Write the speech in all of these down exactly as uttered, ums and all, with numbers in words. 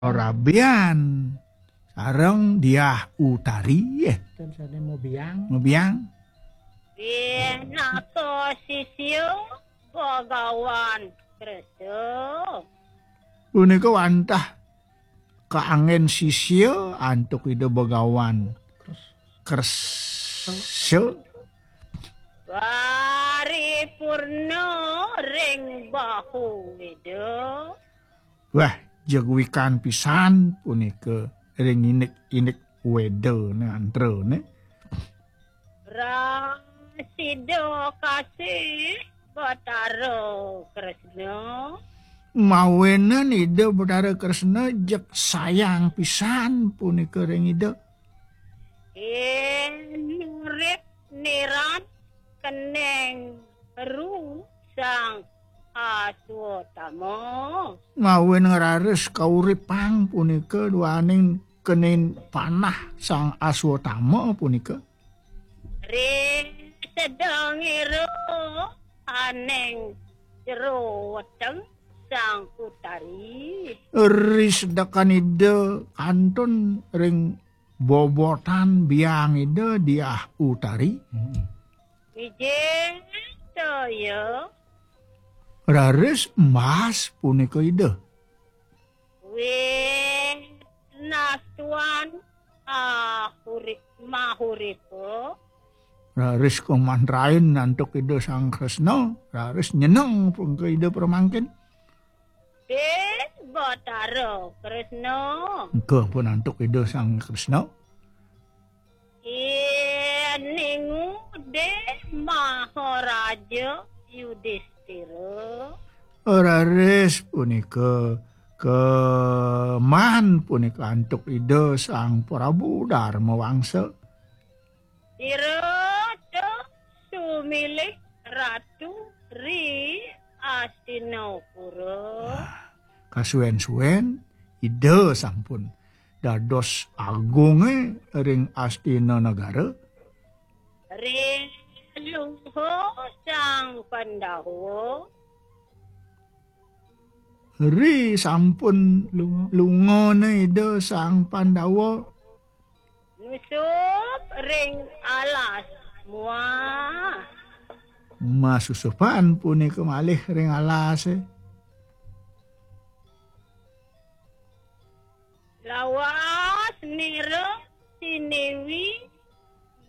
Rabian sareng Diah Utari, eh. Ten sane mau biang. Mau biang. Pinaka sisya Bagawan Krista. Punika wantah kaanggén sisya antuk Ida Bagawan Krista. Paripurna ring bahu Ida. Wah, jeg wikan pisan punika ring indik-indik Weda ne antra ne. Prasida kasih Batara Kresna. Mawinan Ida Batara Kresna jeg sayang pisan punika ring Ida. Inurip niran keneng ru Sang Aswatama. Mawinan raris kauripang punika duaning kenin panah Sang Aswatama punika. Ri sedeng ira aning jero weteng Sang Utari. Ri sedekan Ida kantun ring bobotan biang Ida Diah Utari. Hmm. Wijing toya. Raris embas punika Ida. Winastuan ahuri mahuripa. Raris kamantrain antuk Ida Sang Kresna, raris nyeneng punika Ida pramangkin. Dé Batara Kresna. Engka pun antuk Ida Sang Kresna. Iningu Dé Maharaja Yudistira. Raris punika keman punika antuk Ida Sang Prabu Darma Wangsa. Ira ta sumilih ratu ri Astinapura. Kasuwen-suwen Ida sampun dados agunge ring Astina Negara. Ri lunga Sang Pandawa. Ri sampun lunga. Lungane Ida Sang Pandawa. Nusup ring alas muah. Masusupan punika malih ring alase. Lawas nira siniwi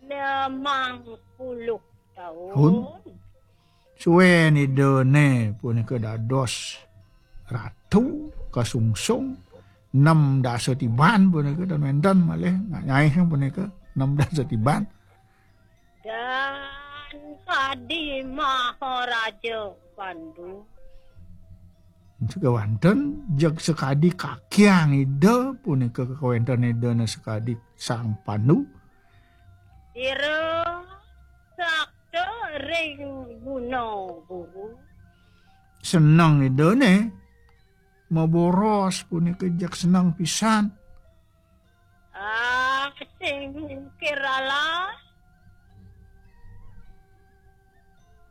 limang puluh taun. Suwen Idane punika dados ratu kasungsung enam dasa tiban punika, dan wenten malih nyaih punika enam dasa tiban. Dan kadi Maharaja Pandu. Sekawanten jeg sekadi kakiang Ida punika kekawanten Idane sekadi Sang Pandu. Ira sakta ring guna guru. Seneng Idane maboros punika jeg seneng pisan. Ah, sing kiralah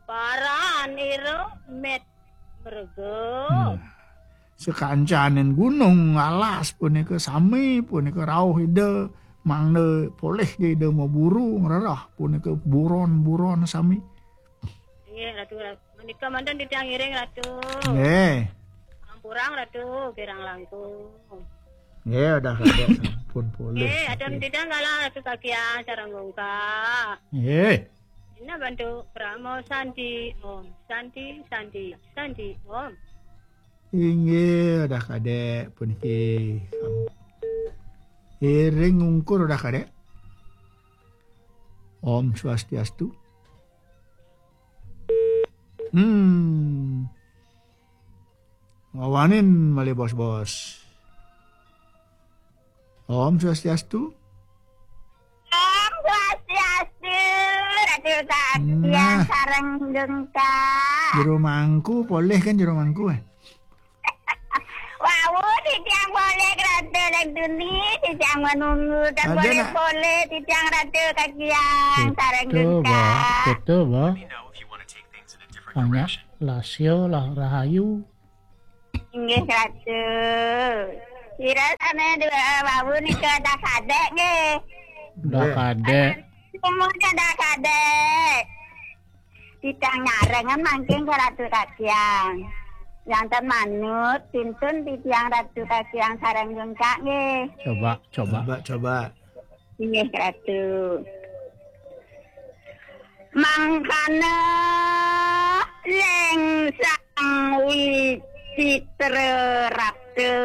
paran ira met merga. Hmm. Sakancaning gunung alas punika sami punika rauh Ida mangda polih Ida maburu ngrereh punika buron-buron sami. Nggih, Ratu, Ratu. Menika manten titiang ngiring, Ratu. Nggih. Ampurang, Ratu, kirang langkung. Nggih, udah ada sampun polih. Nggih, ada titiang galah, Ratu, kakian sareng gungkah. Nggih. Ina bantu pramo santi om, santi, santi, santi om. Inggih, udah kadek puniki. Iring ungkur udah kadek. Om Swastiastu. Hmm. Ngawanin malih bos-bos. Om Swastiastu. Om Swastiastu, Ratu Katian. Nah. Sareng gengkah. Jero mangku, polih kan jero mangku, eh? Wau, titiang polih, Ratu Lek Duni, titiang menunggu, tak ada boleh nak. Poleh, titiang Ratu Katian, sareng gengkah. Betul, Mbak. Betul, Mbak. Banyak lasio lah rahayu. Inggih, Ratu. Pira sane dua wau nika dah kadek nggih. Dah kadek. Umur dah kadek. Titiang nyarengan mangkin ka Ratu Kakiang. Janten manut, pintun titiang Ratu Kakiang sareng jengkak nggih. Coba, coba. Coba, coba. Inggih, Ratu. Mangkana ling Sang Wicitra Ratu.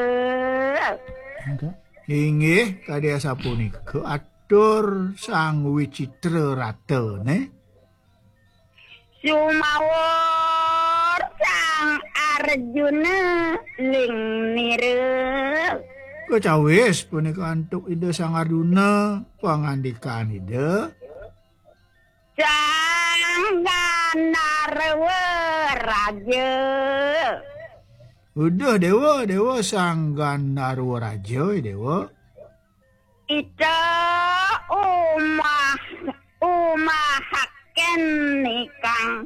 Inggih, kadi asapunika atur Sang Wicitra Ratane. Sumawur Sang Arjuna ling nira. Kecawis punika antuk Ida Sang Arjuna, pangandikan Ida. Sang Gandharwa Raja. Uduh Dewa, Dewa Sang Gandharwa Raja, Dewa. Ita umah, umahaken nikang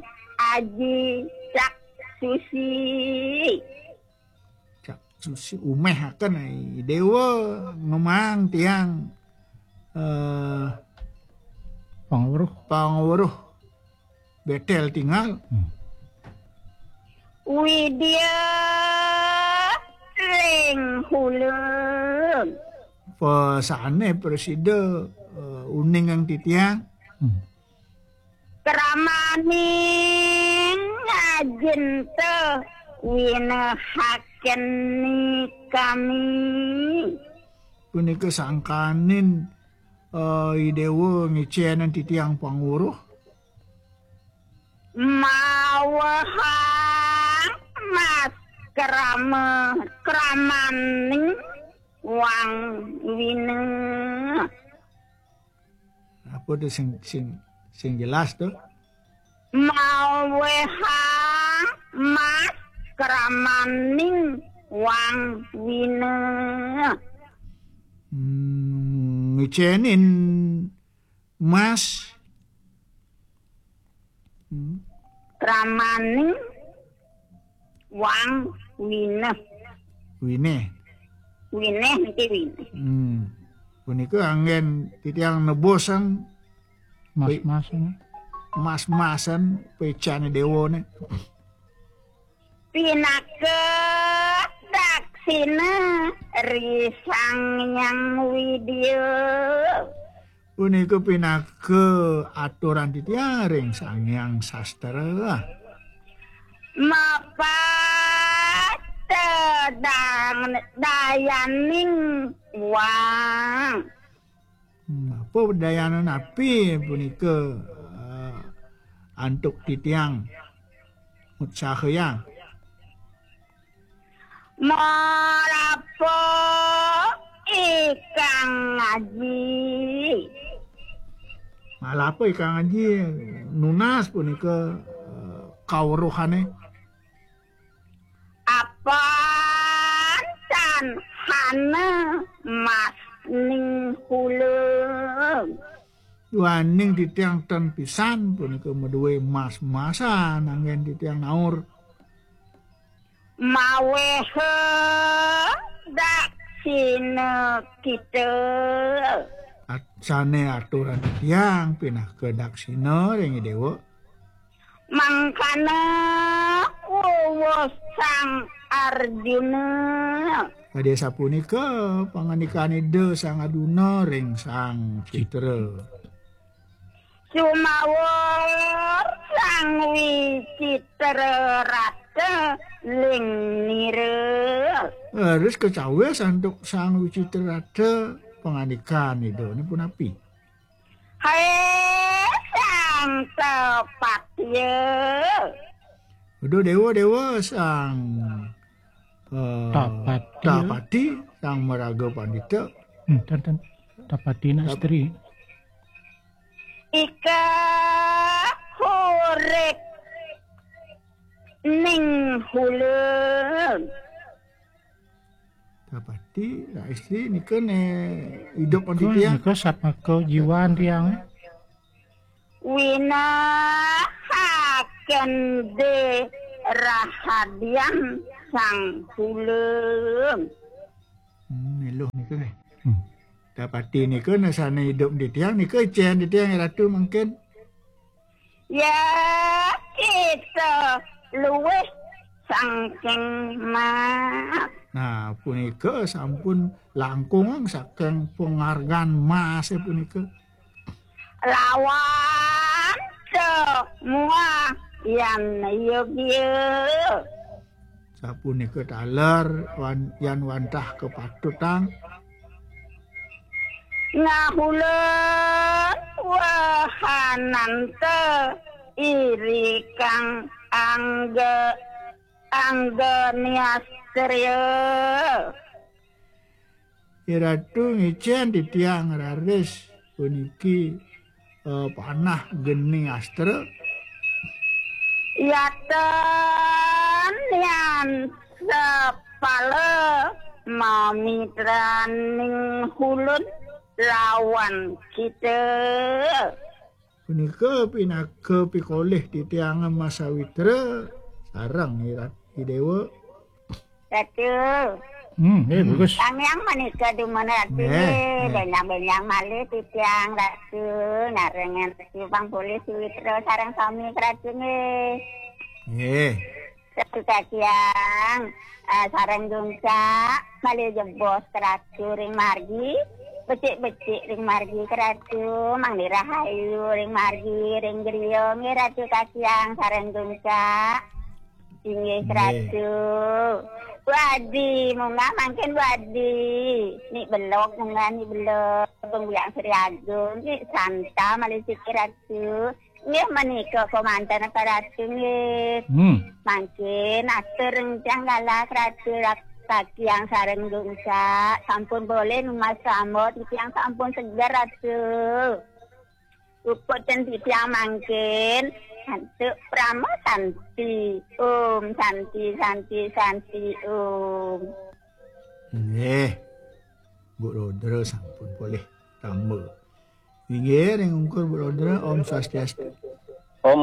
aji Cak Susi. Cak Susi umehaken, ai Dewa ngemang tiang, eh, Pangweruh. Pangweruh. Betel tingal. Hmm. Widya ring hulun. Pesane prasida, eh, uning ang titiang. Hmm. Kramaning ajinta winahaken nikami. Punika sangkaning, eh, I Dewa ngicenin titiang pangweruh. Mawehang mas krama, kramaning wang wina. Apa tu sing, sing, sing jelas tu? Mawehang mas kramaning wang wina. Hmm, ngicenin mas. Hmm. Kramaning wang wina. Wine. Wine niki wine. Hmm. Punika anggen titiang nebusang mas-masan. Mas-masan pecane dewane. Pinaka daksina ri Sang Hyang Widya. Punika pinaka aturan titiang ring Sang Hyang Sastra. Mapatedang dayaning wang. Hmm, apa dayaning napi punika, eh, antuk titiang utsahayang? Malapa ikang aji. Malapa ikang aji, nunas punika, eh, kaweruhane. Apan tan hana mas ning hulun. Duaning titiang ten pisan punika madue mas-masan anggen titiang naur. Maweha daksina kita. At-, sane aturan titiang pinaka daksina ring Dewa. Mangkana wuwuh Sang Arjuna. Kadi sapunika pangandikan Ida Sang Arjuna ring Sang Citra. Sumawur Sang Wicitra Rata ling nira. Leres kecawis antuk Sang Wicitra Rata pangandikan Ida ne punapi? Hai Sang Tapatya. Aduh, Dewa, Dewa, Sang, eh, Tapatya. Tapati, Sang Maraga Pandita. Hmm, ten, ten. Tapati nak Tap- istri. Ika hurik ning hulun. Tapati, nak istri nika ne idup anti tiang. Nika satmaka jiwan tiang, eh. Winahaken de rahadian Sang Hulun. Hmm, Luh nika nggih. Hmm. Dapati nika nasane idup titiang nika icen titiang Ratu mangkin. Ya, kita luwih saking mas. Nah, punika sampun langkung saking penghargaan mas punika. Lawan muah yan yogya. Sapunika taler wan, yan wantah kapatutang. Ngahulun wahananta irikang angga, angga niastriya. Iratu ngicen titiang raris puniki, eh, panah geni astra. Yatan yan sapala mamitraning hulun lawan kita. Punika pinaka pikolih titiang Mas Sawitra sareng Ira-, Idewa. Ratu. Hmm, eh, hmm. Bagus. Tamiang manika dumun Ratu. Nggih, nggih. Benjang-benjang malih titiang Ratu, narengan Ratu pang polih Sawitra sareng sami Ratu nggih. Nggih. Ratu Kasiang, eh, sareng Gungsa, malih jebos Ratu ring margi, becik-becik ring margi Ratu, mangda rahayu ring margi, ring griya nggih Ratu Kasiang sareng Gungsa. Inggih, nggih. Ratu. Bu Adi, munggah mangkin Bu Adi. Ni belog, munggah ni belog. Pembiang Sri Agung, ni santa malih siki Ratu. Nggih, menika komanten Ratu nggih. Hmm. Mangkin atur rencang galah Ratu Rak-, Kasiang sareng Gungsa. Sampun boleh numbas sambut, titiang sampun seger Ratu. Puput ten titiang mangkin, antuk Parama Santi. Om Santi, Santi, Santi, Om. Nggih. Bu Rudra sampun polih tamba. Inggih, ring ungkur Bu Rudra, Om Swastiastu. Om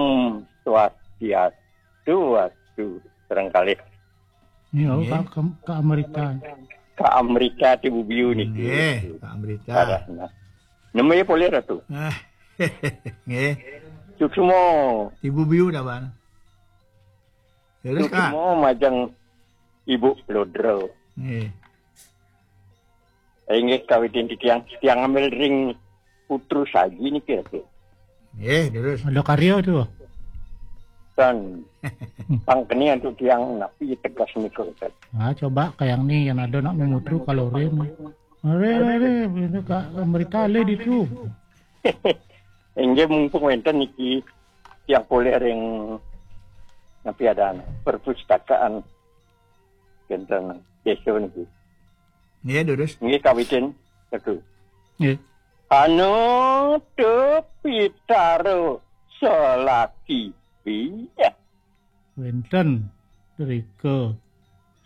Swastiastu, wastu, sareng kalih. Nggih, nggih. Ka, ka, ka Amerika. Ka Amerika, Ibu Biu niki. Nggih, ka Amerika. Arahna. Nemu ya polih, Ratu. Ah, nggih. Suksma. Ibu Biu dah, Bang. Terus, Kak. Suksma majeng Ibu Lodra. Nggih. Inggih kawitin titiang, titiang ngambil ring Putru Saji niki, Ratu. Nggih, terus. Ada karya tu. Tan pangkeni antuk tiang napi tegas nika, Ratu. Ah, coba kayang ni yang ada nak memutru kalorin. Are, are, ini Kak Amerika le ditu. Inggih mumpung wenten niki tiang polih ring napi adan perpustakaan wenten desa niki. Nggih, durus. Nggih, kawitin, Ratu. Nggih. Anu tu pitara salaki bi. Wenten drika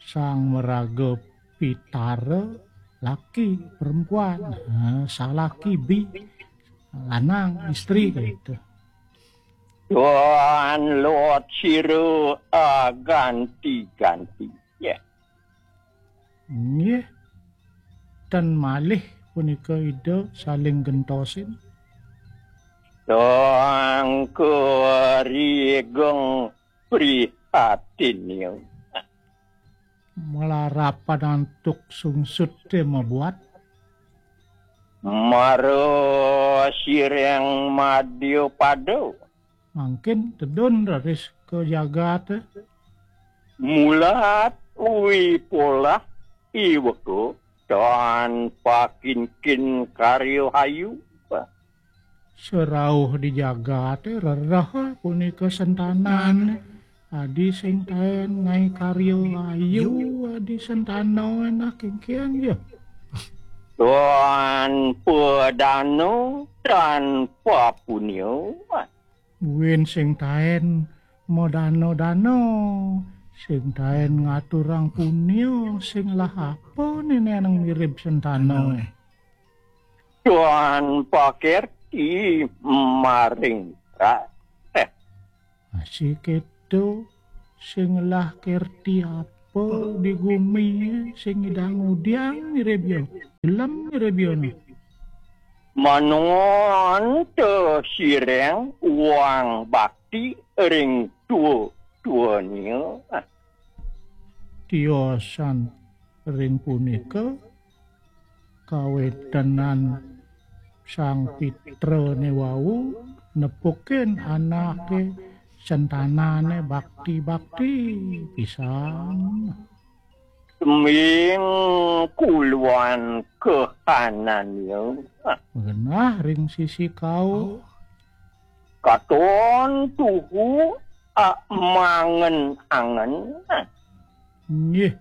Sang Maraga Pitara laki perempuan. Ha, salaki bi lanang istri gitu. Tuan Lot Sira aganti-ganti. Ya. Nggih. Ten malih punika Ida saling gentosin. Tangka rigeng prihatin. Malarapan antuk sungsut te mabuat. Mara sireng madya pada. Mangkin tedun raris ka jagate. Mulat wipolah iweka tan pakinkin karya hayu. Serauh di jagate rereh punika sentanan. Adi sing taen ngae karya ayu, adi sentana enak kengkian ya. Tan padana, tan papunya. Buin sing taen madana-dana, sing taen ngaturang punya, sing lah apa nene nang mirip sentana. Tan pakerti maring ra-, eh. Masih keto, sing lah kerti apa Apa di gumi sing ngidang udiang mirib ya? Gelem mirib ya, nah. Manongon te sireng wang bakti ring tua-tuania. Tiosan ring punika kawetenan Sang Pitrane wau nepukin anake sentanane bakti-bakti pisan. Seming kuluan kahanania. Genah ring sisi kau. Katon tuhu amangen-angen. Nggih,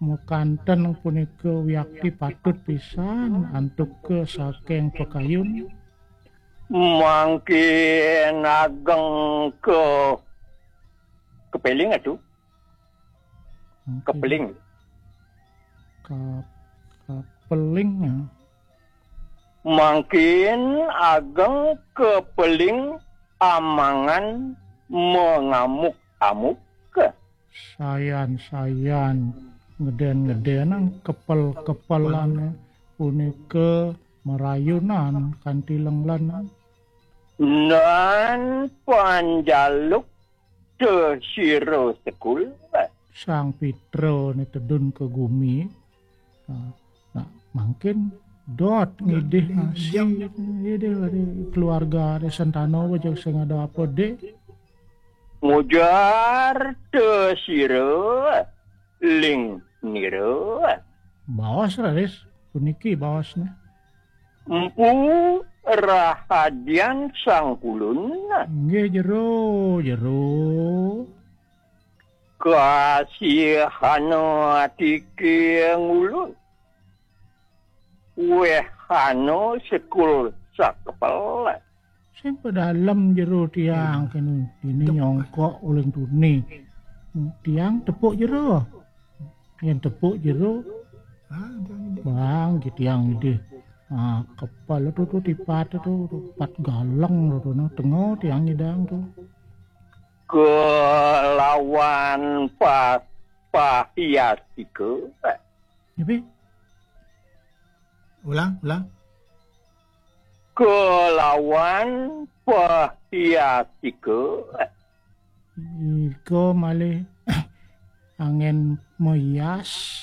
makanten punika wiakti patut pisan antuk ke saking pakayun. Mangkin ageng ke kepeling atu. Kepeling. Ka-, kepeling, ya. Mangkin ageng kepeling amangan mengamuk-amuk. Sayan-sayan ngeden-ngedenang kepel-kepelane punika marayunan kanti lenglenan. Nan panjaluk te sira sekul. Sang Pitra ne tedun ke gumi. Nah, nah, mangkin dot ngidih nasi. Ngidih ada keluarga, ada sentana apa jeg sing ada apa, Dik? Mujar te sira ling nira. Baos, raris. Puniki baosnya. Empu rahadian Sang Kulun. Nggih, jero, jero. Kasihana atike ngulun. Wehana sekul sakepel. Sing pedalem jero tiang kene, dini nyongkok uling tuni. Tiang tepuk jero. Yen tepuk jero, bang, ki tiang idih. Ah, kepala tu, tu tipat tu, tu pat galeng tu, tu, nah, tengah tiang idang tu. Kelawan pa-, pahiasika. Tapi ulang, ulang. Kelawan pahiasika. Iko malih angin meyas.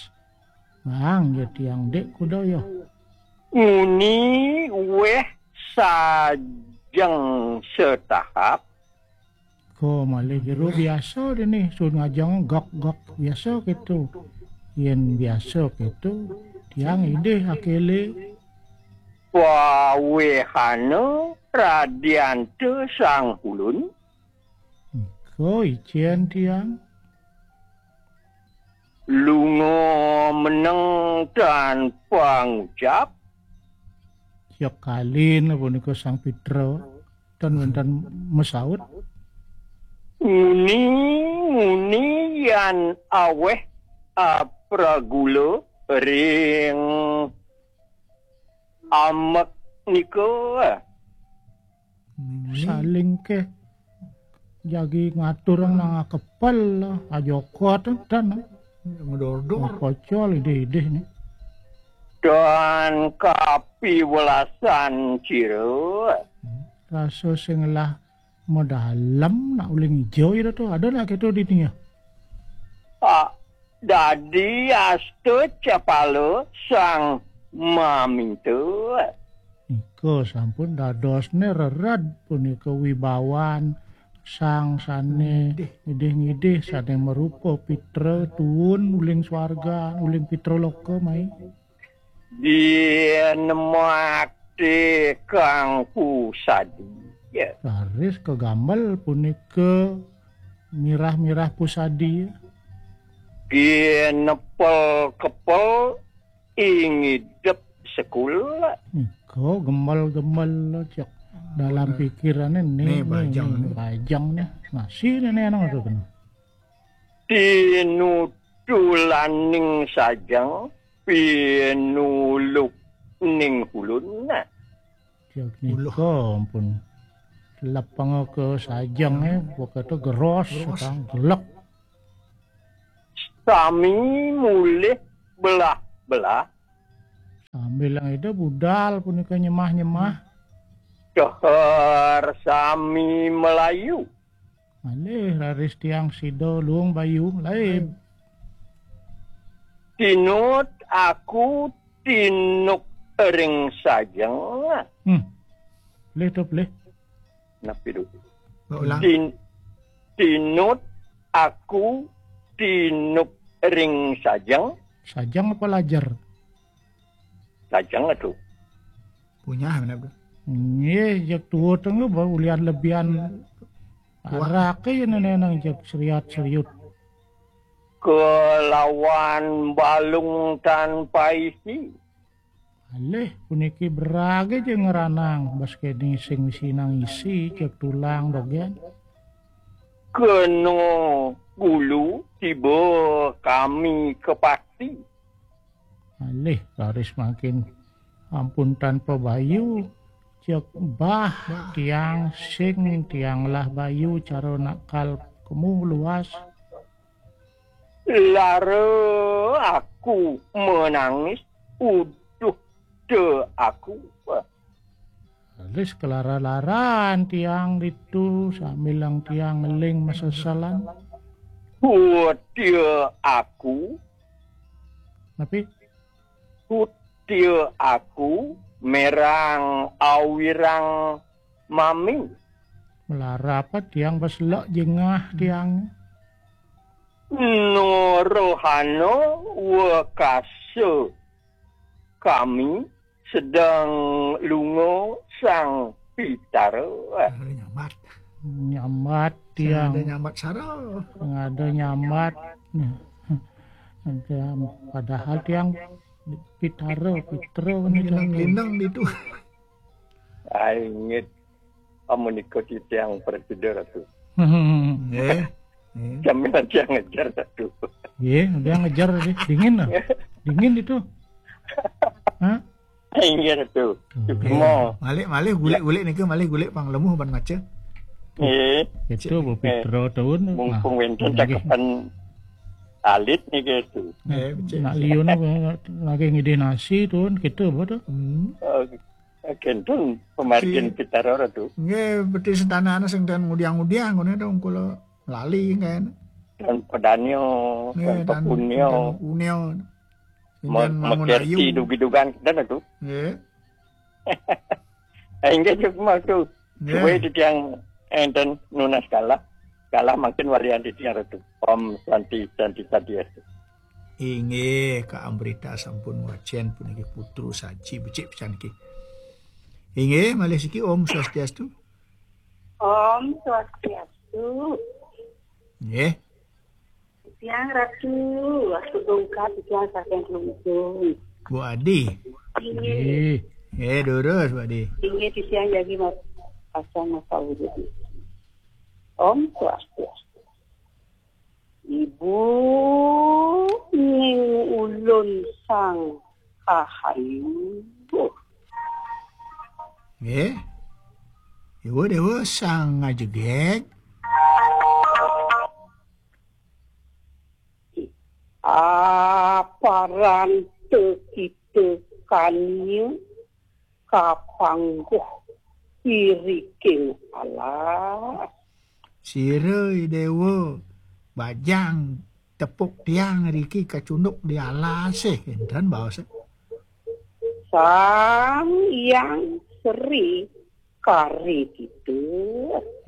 Bang, ya tiang dik kuda ya. Nguni weh sajeng setahap. Ko malih jero biasa dini, sun ngajeng gok-gok biasa gitu. Yen biasa gitu, tiang idih akele. Pawehana radyanta Sang Kulun. Ko icen tiang. Lunga meneng tanpa ngucap. Siap kalin punika Sang Pitra. Tan wénten masaut. Nguni, nguni yan aweh apragula ring amek nika. Nguni. Saling ke jagi ngatur nang akepel, ajokot tan. Ngedor-dor. Pocol idih-idih ni. Dan kapiwelasan cira. Rasa sing lah medalem nak uling ijo ira tu. Ada nak kita di tengah? Ah, dadi asta capala sang maminta. Nika sampun dadosne rered punika wibawan sang sane ngidih-ngidih sane marupa pitra tuun uling swarga, uling pitra loka mai. Dinemakti kang pusadi. Ya. Raris kagambel punika mirah-mirah pusadi. Ginepel-kepel ingidep sekula. Nika gembel-gembel cek dalam pikirane ni, ni, bajang ni, ni. Bajang ni. Nasi ni, ni, anu tu kena. Tinutulaning sajeng, pinuluk ning ulun. Cek nika ampun. Lepeng ke sajeng, eh, waktu geros, geros. Sekang gelek. Sami mulih belah-belah. Sambil yang itu budal punika nyemah-nyemah. Ceher sami melayu. Malih raris tiang sida luung bayu laib. Tinut aku tinuk ring sajeng. Hmm. Pelih tu pelih. Napi tu? Ulang. Tin, tinut aku tinuk ring sajeng. Sajeng apa lajer? Sajeng tu. Punyah mana tu? Nggih, jak tua tengah ba ulian lebihan. Wah. Arak ya nenenang jak seriat seriut. Kelawan balung tanpa isi. Alih puniki berage ja ngeranang, bas kene sing misi nang isi, jak tulang dogen. Kena bulu tiba kami kepati. Alih raris makin ampun tanpa bayu, jak bah. Bah. Tiang sing tiang lah bayu cara nakal kemu luas. Lara aku menangis, uduh de aku. Alis kelara-laran tiang ditu sambil lang tiang ngeling masesalan. Kutia aku. Napi? Kutia aku merang awirang mami. Melara apa tiang pas lek jengah tiang. Norohana wekasa kami sedang lunga Sang Pitara. Ada nyambat. Nyambat tiang. Ada nyambat sara. Ada nyambat. Ada, padahal tiang Pitara, Pitra ni. Lindang-lindang ditu. Ai, inggih. Amunika titiang prasida, Ratu. Nggih. Nggih. Sambil tiang ngejar, Ratu. Nggih, dia ngejar tadi. Dingin lah. Dingin itu. Hah? Ai, inggih, Ratu. Nggih. Cuma. Malih, malih gulik-gulik nika, malih gulik pang lemuh ban maca. Nggih. Itu Bu Pitra tahun. Mumpung wenten cakepan alit niki, Ratu. Nggih, becik. Nak liun lagi ngidih nasi tuh, kita apa tuh? Hmm. Oh, kenten pamargin Pitara, Ratu. Nggih, beti sentanane sing ten ngudiang-ngudiang ngene to, kula lali kan. Dan pedanyo, nggih, dan dan pepunyo. Dan punyo. Sing me-, ten mangun mekerti ayu. Dugi-dugan kenten, Ratu. Nggih. Inggih, cukup, Ratu. Nggih. Supaya titiang enten nunas kalah. Kalah mangkin walian titiang, Ratu. Om Santi, Santi, Santi, Ratu. Inggih, Kak Amrita sampun wacen puniki putru saji becik pisan niki. Inggih, malih siki Om Swastiastu. Om Swastiastu. Nggih. Tiang Ratu, waktu dongkap tiang saking Klungkung. Bu Adi. Inggih. Nggih. Nggih, durus, Bu Adi. Inggih, tiang jagi mas-, pasang masa wujud. Om Swastiastu. Ibu ning ulun sang kahayu. Nggih. Ibu Dewa sang ngajegeg. Aparan te kita kania kapangguh iriking alas. Sira, I Dewa, bajang tepuk tiang riki kacunduk di alase, enten baos. Sang Hyang Sri kari kita.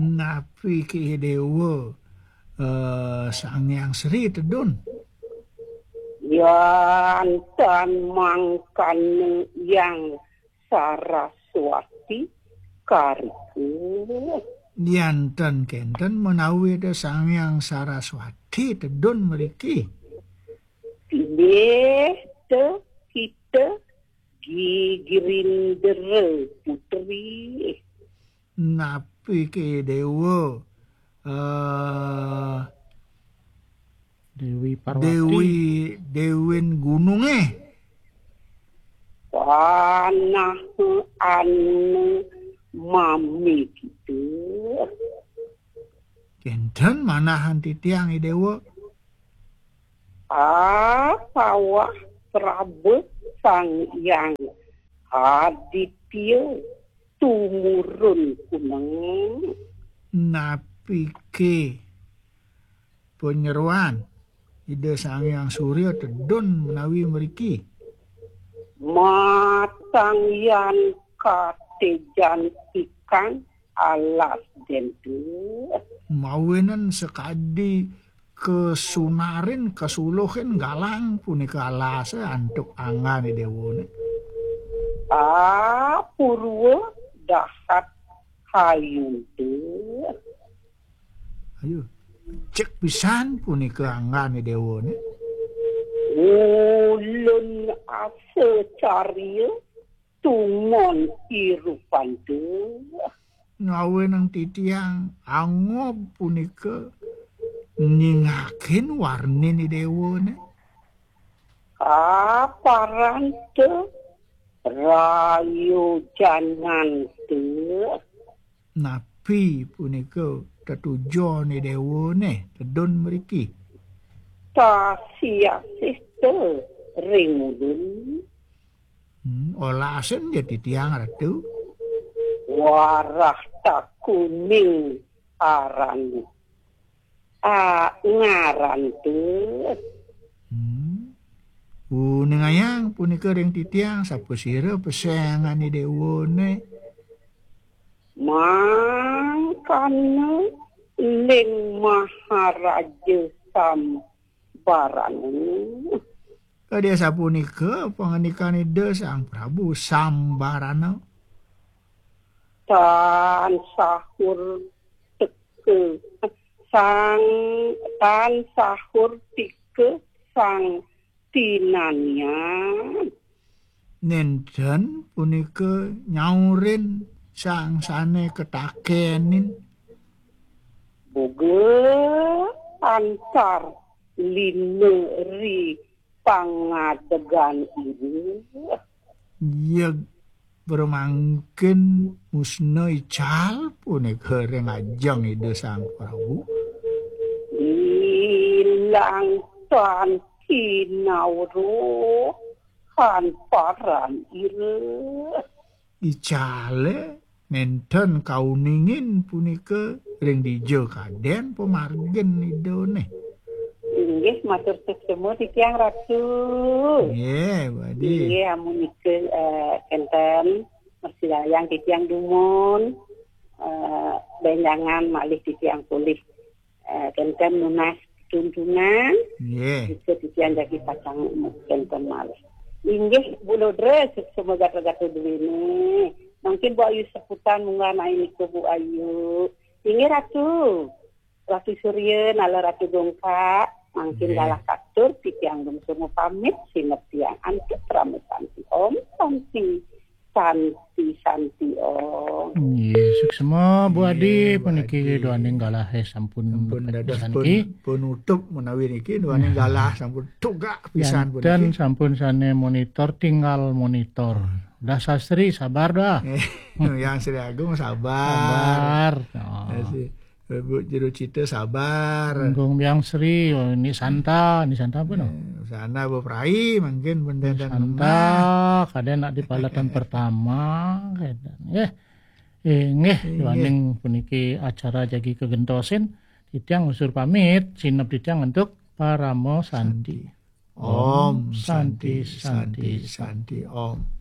Napi ki Dewa, eh, Sang Hyang Sri tedun? Yan tan mangkana Hyang Saraswati karika. Yan tan kenten menawi ada Sang Hyang Saraswati tedun mriki. Pilih te kita Gi Girindra Putri. Napi ke Dewa? Eh, Dewi Parwati. Dewi, Dewin Gununge. Panah anu mami kita. Kenten manahan titiang, I Dewa. Apawah prabéh Sang Hyang Aditya tumurun kuneng. Napike panyeroan Ida Sang Hyang Surya tedun menawi mriki? Matang yan katejan ikan alas dentu. Mawenen sakadi kasunarin kasuluhin galang punika alase antuk anggane dewane. Apurwa dahat hayunte. Ayo, cek pisan punika anggane dewane. Ulun asa carya tumon irupante. Ngawenang titiang angob punika nyingakin warnine dewane. Aparante rayojanante. Napi punika tetujone dewane tedun mriki? Tasiasih te ring ulun. Hmm, olasen ya titiang Ratu. Warah takuning aran. Ah, ngaran te. Hmm. Uningayang punika ring titiang sapasira pesengane dewane. Mangkana ling Maharaja Sambarana. Kadi sapunika pangandikan Ida Sang Prabu Sambarana. Tan sahur teka sang tan sahur tika sang tinanian. Nenten punika nyaurin sang sane ketakenin. Boga antar lina ri pangadegan ira. Yeg pramangkin musna ical punika ring ajeng Ida Sang Prabu. Ilang tan kinawruh kan paran ira. Icale nenten kauningin punika ring dija kaden pamargin Idane. Inggih, matur suksma titiang Ratu. Nggih, Bu Adi. Inggih, amunika, eh, kenten, mersidayang titiang dumun, eh, benjangan malih titiang polih. Eh, kenten nunas tuntunan, nggih. Bisa titiang jagi pacang kenten malih. Inggih, Bu Lodre, suksma gatra-gatra duwene. Mangkin Bu Ayu seputan munggah nain nika Bu Ayu. Inggih Ratu. Ratu Surya, nala Ratu Dongkak, mangkin nggih. Galah katur, titiang dumusurmu pamit, sineb tiang antuk krama santi. Om Santi, Santi, Santi Om. Nggih, suksma Bu Adi, nggih, Bu puniki Adi. Duaning galah, eh, sampun sampun dados saniki. Pun-, penutup menawi niki duaning galah sampun tugak pisan puniki. Janten sampun sane monitor, tinggal monitor. Dah Sastri, sabar dah. Yang Sri Agung sabar. Sabar. Oh. Ya, si. Bu Jero Cita sabar. Gong Biang Sri, oh, ini Santa, ini Santa apa no? Eh, sana Bu Prai mungkin benda dan Santa, kadang nak di palatan pertama, kadang. Eh, eh, nggih, nggih. Duaning puniki acara jagi kegentosin, titiang usur pamit, sineb titiang untuk Paramo Santi. Santi. Om Santi, Santi, Santi, Santi, Om.